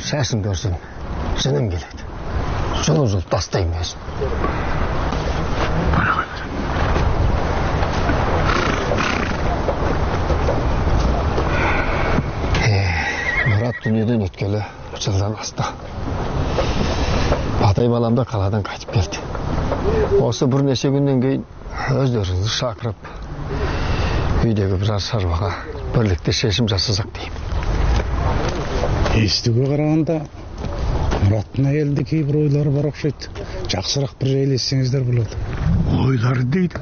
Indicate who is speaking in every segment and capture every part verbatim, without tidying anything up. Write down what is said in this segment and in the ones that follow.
Speaker 1: шашын көрсөм жыным келет. Жол жол тастайм өзүм. Мурат дүниеден өткелі жылдан асты. Атай балам да қаладан қайтып келді. Осы бір неше күннен кейін өздеріңізді шақырып, үйдегі біраз шаруаға бірлікте шешім жасасақ деймін.
Speaker 2: Естіге қарағанда Мұраттың әйелінде кейбір ойлары бар окшойт. Жақсырақ бір жайлассаңыздар болады.
Speaker 3: Ойлары дейді.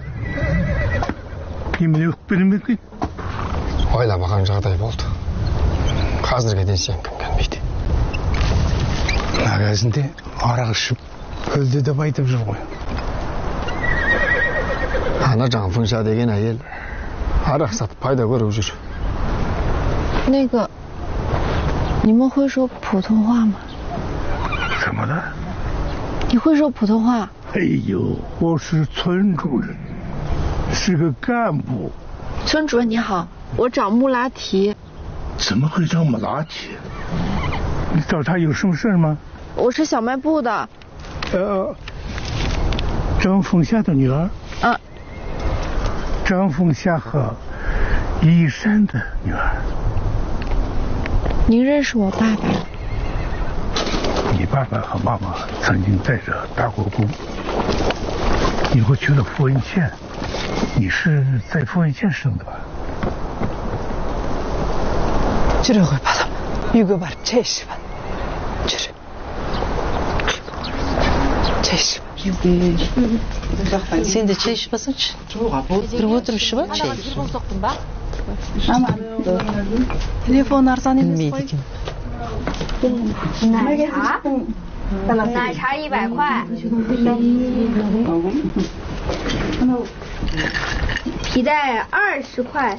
Speaker 3: Немене өкпелі екен?
Speaker 1: Ойламаған жағдай болды. Қазірге дейін сенгім келмейді.
Speaker 2: Нағазінде арақ ішіп өлді деп айтып жүр ғой.
Speaker 1: Ана Жанфунша деген әйел арақ сатып пайда көріп жүр.
Speaker 4: 那个，你们会说普通话吗？
Speaker 3: 怎么了？
Speaker 4: 你会说普通话？
Speaker 3: 哎呦，我是村主任，是个干部。
Speaker 4: 村主任你好，我找穆拉提。
Speaker 3: 怎么会找穆拉提？你找他有什么事吗？
Speaker 4: 我是小卖部的。
Speaker 3: 呃，张凤霞的女儿。
Speaker 4: 啊。
Speaker 3: 张凤霞和一山的女儿。
Speaker 4: 您认识我爸爸？
Speaker 3: 你爸爸和妈妈曾经在这打过工。以后去了富文县，你是在富文县生的吧？
Speaker 5: Жүрі ғой балам, үйге барып чай ішіп ал. Жүрі. Чай ішіп ал.
Speaker 6: Сен де чай ішіп алсаңшы. Отырып отырып ішіп ал чай.
Speaker 5: Телефон арзан емес
Speaker 6: Білмейді
Speaker 5: қой.
Speaker 6: екен.
Speaker 7: 奶茶，奶茶一百块，皮带二十块，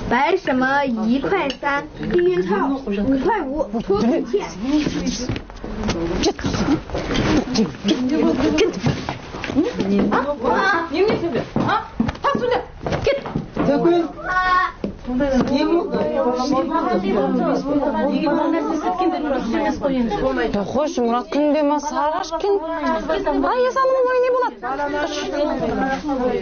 Speaker 7: 白什么一块三，避孕套五块五，脱裤线。啊！你们这边啊，他出来，给。再滚。
Speaker 5: Хош, Мұрат күнде ма сарғаш күн. Ай, есалының ойы не болады?